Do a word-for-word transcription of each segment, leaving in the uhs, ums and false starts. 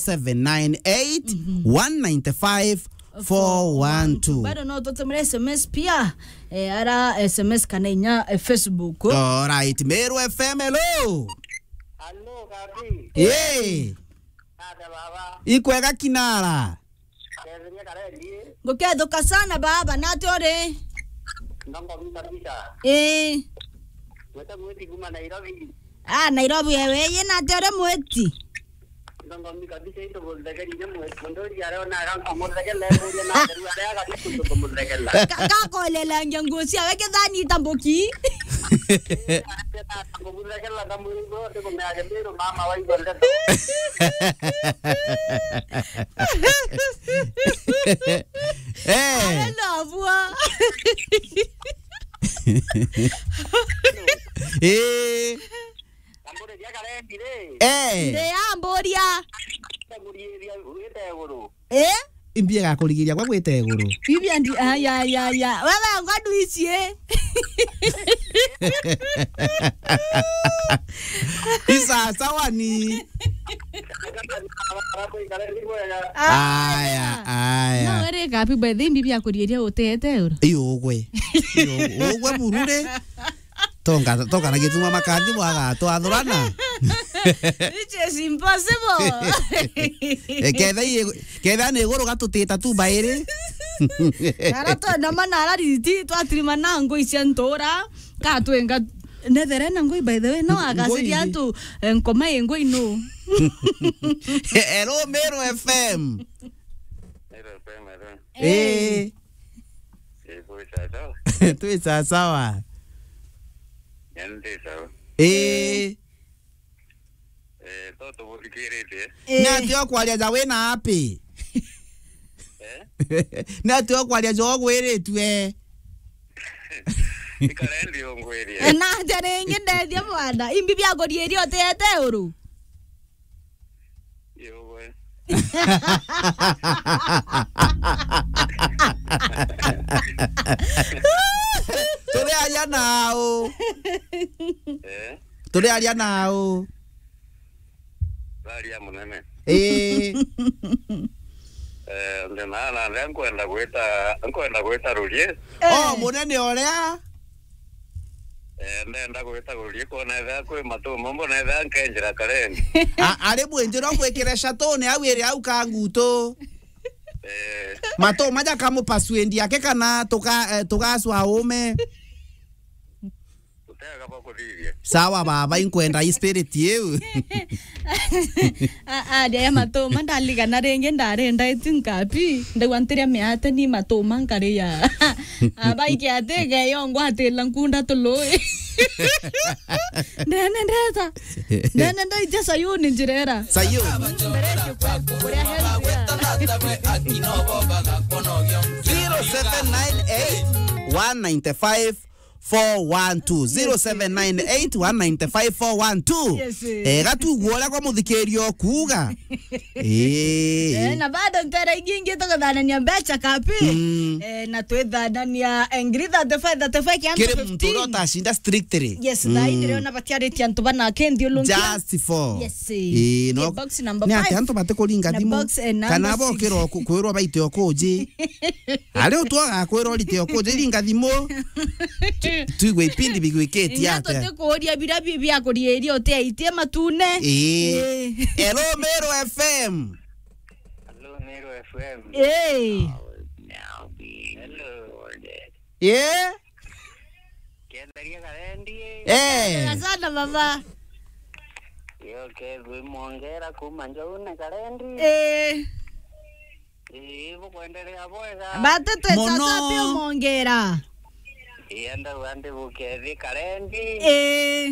seven nine eight, one nine five, four one two. Bado no tutumire S M S pia, eh, ara S M S kana inya, eh, Facebook. Alright, Meru F M, hello. Hello, Gabi. Hey. Nate baba. Ikwega kinara. Kethenia karendi. Ngukethuka sana baba, nate uri? Ndongo kabisa. Eh. Wete mwiti kuma Nairobi. Ah, Nairobi wewe, ye nate uri mwiti? Ndongo kabisa, ito muthekeri ni mwiti. Munduri areo na akanka muthekela, muria na atheru aria agatuku muthekela. Ka-, kakolelangia nguo ciawe kithani itambuki. Kumuthekela kamwiri go, ndikumea Kimiru, mama waigua ndeto. Eh. Arenda bua. Eh. Amburiria karendi ri. Eh. Ndi amburia. Ndaguriria wite iguru. Eh? Imbi agakurigiria gwa gwita iguru. Bibi andi, aya, aya, aya. Wewe ngodu ici, eh? Isa sawa ni. Aya, aya. No, ere kapi by the way, bibi akurigiria utete iguru. Iyo ugwe. Iyo ugwe burure. Tonga, tonga na gituma makathi bwaga twathurana. Which is impossible. Eh, ketha i-, ketha ni iguru gatutita tu bairi. Ara twenda mana ara riti twatirima na ngui cia ntura, ka twenga nethere na ngui, by the way, no. Ngui agaciria ni- antu, eh, nkoma i ngui no. Hello, Meru F M. Meru F M, hello. Eh. Eh. Eh, kwi sawa sawa. Twi sawa sawa. Nyani ndi sawa. Eh. Eh, to tubuthikiritie. Eh. Ni atia ukwaria ja wina api? Eh? Ni atia ukwaria ja ugwiritue? Ikare ndi ungwirie. Eh, na atia ringi ndethia mwana. Imbi bia kuriiria utiete uru? Yogwe. Turiaria nau. Eh? Turiaria nau. Tharia munene. Ii. Eh, ndi na, na, na nkwenda gwita, nkwenda gwita rurie. Oh, eh, munene uria. Eh, ndenda gwita rurie kwona ethira kwi matuma, mbona ethira nkenjira karendi. A-, ari mwinjiro mwikire shatone au iri au kangutu. Eh. Matuma jakamupasuendi ake kana tuka-, eh, tugaswa ume. Utega bakuthithia. Sawa baba, inkwenda i spirit iu. A, a, ndia ya matuma, ndaligana ringi, ndarenda itu nkapi, ndaigua ntiria miate ni matuma nkaria. Abaike ati geyo ngwatila nkunda tului. Ndene ndeta. Ndene ndaija Sayuni njirera. Sayuni. Mbere kuria heri. Zero seven nine eight, one nine five, four one two. Zero seven nine eight, one nine five, four one two. Yes, eh. Eh, gatugua uria kwa muthikiria ukuuga. Eh. Eh, na bado ntere ingi ingi tukuthanania mbeca kapi. Mm. Eh, na twithanania ngiri thirty-five, thirty-five kianto kiri muntu uria fifteen. Utacinda strictly. Yes, mm. Thaa indi rio na batiaritie antu bana ke nthiurunkia. Just for. Yes. Eh, no. Box number five. Ni ati antu batikuringa thimu. Na box, eh, number six. Kana bokira ku-, kwirwa baite okuji. Ari utwaga kwirwa urite okuji ringa thimu. Tu-, tuigwe ipindi bigwikitie atia. Inga tutikuuria biria bi-, bia kuriiria utiaitie matune. Ii. Ii. Hello, Meru F M. Hello, Meru F M. Ii. Hello. Ii. Kenderia karendi. Eh. Sana baba. Yo ke gwi mwongera kuma njaune karendi. Eh. Ii, bukwenderea bwega. Batu twi sasa pia mwongera. Ii, enda wandi bukethi karendi. Eh.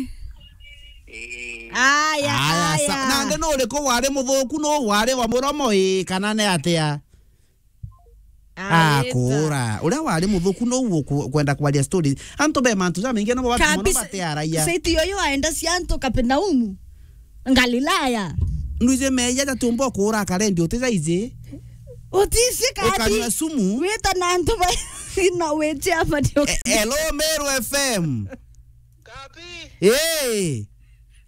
Ii. Aya, aya, aya. Sa-, nandi nuriku wari muthuku, nu wari wa muromo, ii, kana ni atia? Arita. Akuura. Uria wari muthuku nu uku-, kwenda kwaria story. Antu be mantu jamaingi no batu mono. Kabisa. Batearagia. Saiti yoyo aenda cia antu Kapernaumu. Galilaya. Nwije meja jatiumba kuura karendi utija iji. Utisi kati. Ukanywa sumu. Wita na antu ba na wiche amadio. E-, hello, Meru F M. Kapi. Hey.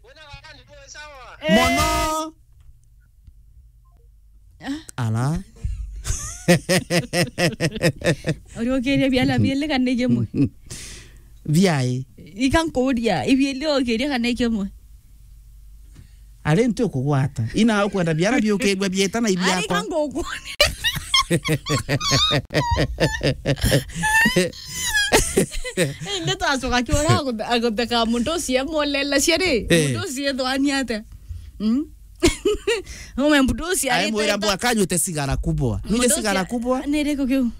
Wena karendi tu sawa. Eh. Mono. Ala. Uri ukiria biala biili kana ikimwe? Biai. Ika nkuria, ibiili ukiria kana ikimwe? Ari nti ukugwata. Ina ukwenda biara biukigwe bieta na ibiakwa. Ari ka nguku. Indi twacoka kiura aguthe-, agutheka mundu ucio emwolela ciari. Eh. Mundu ucio ethwani atia? Mm? Ume mundu ucio aimwira ariteta. Mbwa kanyute sigara kubwa. Nyute mundu sigara ucio kubwa. Ni riku kiu?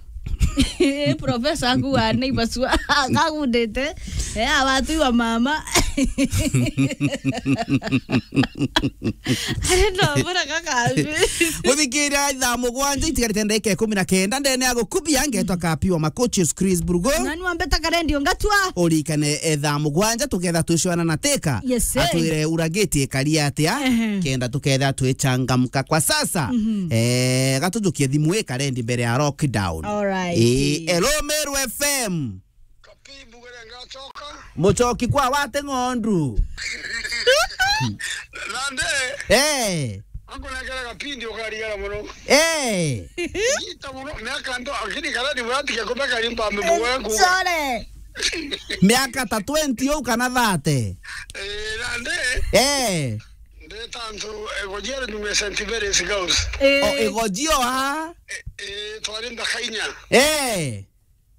Profesa aku wa neighbors wa akagundite. Eh, awatu wa mama. Ari ndo mbona kaka. Guthikiria thaa mugwanja itigarite ndagika ikumi na kenda ndene ya gukubia ngetwa Kapi wa Makochi Chris Brugo. Nani wambeta karendi ongatwa? Urikane, eh, thaa mugwanja tuketha twicwana na teka. Yes, sir. Atwire uragiti ikari atia? Ehe. Kenda tuketha twichangamka kwa sasa. Mhm. Eh, gatujukie thimu ikarendi mbere ya lockdown. All right. Eh, hello, Meru F M. Kapi, mbugere ngacoka. Mucoki kwa wate ng'ondu. Nande. Eh. Ankunengera kapindi ukarigara muno. Eh. Ita muno, miaka ndo, akini kana ni murati ke kumeka limba mbe mugwe ku. Sore. Miaka ta twenty au kana thirty. Eh, nande. Eh. Ndeta ntu, eh, Gojere ni Saint Mary's Girls. Eh. O, Igojio ha? Eh, eh, twari ndakainya. Eh.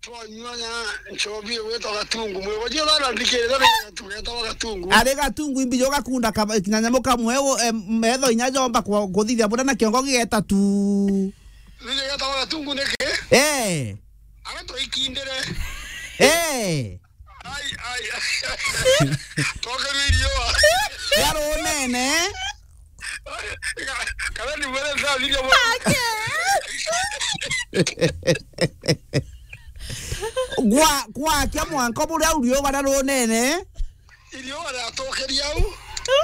Twanyua nya nchobi gwetwa Gatungu. Mwigojio bana ndikirira tugeta wa Gatungu. Ari Gatungu imbi jo gakunda kaba-, kinyanyamu kamwe, o, em, metho inya jomba kwa-, kuthithia bura na kiongo gigeta tu. Nigeta wa Gatungu niki? Eh. Ara twaikindire. Eh. Ai, ai, ai. Tokeru irio. Yaro nene. Kana ni mwere ndathiria mwana. Ake. Gwa, gwake mwanka buria uriuga na runene. Irio baratokeria au.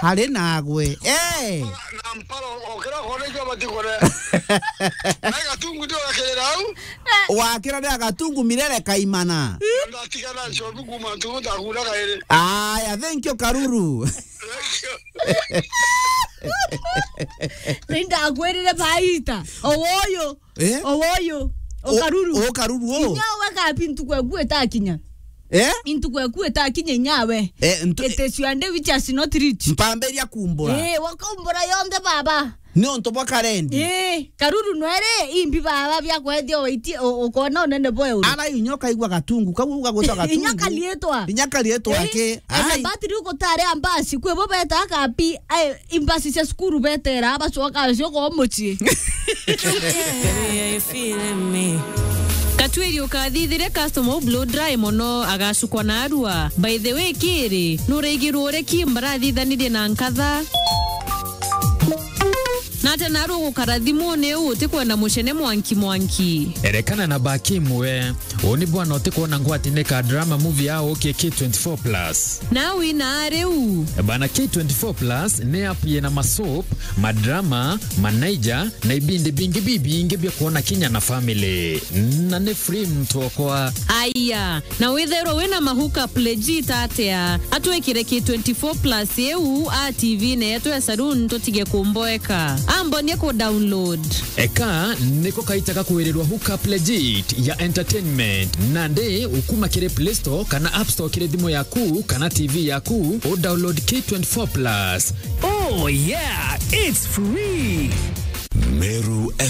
Hari nagwe. Eh. Na mparo okira kone kio batikore. Na Gatungu ndio akirira au. Wakira ni Gatungu mirere kaimana. Ndatigana nchobi kuma ntugu ndakura kairi. Aya, thank you, Karuru. Ni ndakwirire baita. Owoyo. Eh? Owoyo. O-, Okaruru. Okaruru o. Inyawe kapi ntuku eku etakinya. Eh? Intuku eku etakinya inyawe. Eh, ntu- It is your day which has not reached. Mpambiria kumbura. Eh, wakaumbura yonthe baba. Ni untu bwa karendi. Ii, Karuru nwere imbi baba bia kwethia oiti, o-, ukona unene bwa uru. Ara inya ukaigua Gatungu, kau ugagwita Gatungu. Inya karietwa. Inya karietwa. Ii, ke. Ena ai. Batiri gutari ambasi, kwi bo beta kapi, ai, imbasi cia cukuru betera, bacoka cio kwa mucii. Katwiri ukathithire customer u blow dry mono, agacukwa na arua. By the way, kiri, nuraigirwo uri ki mbarathithanirie na nkatha? Nate naru ugukara thimuni u utikwenda mucene mwanki mwanki. Erekana na baki imwe. Uni bwana utikwona ngwati ni ka drama movie ya uki K twenty-four plus. Na wina riu. Bana K twenty-four plus ni app yina masoap, madrama, manaija, na ibindi bingi bibingi bia kwona kinya na family. Na ni free mtu okwa. Aya. Na withairwa wina ma hookup legit atia, atwikire K twenty-four plus iu a T V-ne yetu ya saloon tutige kumboeka. Ambonie ku download. Eka niko kaita ga kwirirwa hookup legit ya entertainment. Nandi ukuma kiri Play Store kana App Store kiri thimu yaku kana T V yaku, u download K twenty-four plus. Oh yeah, it's free. Meru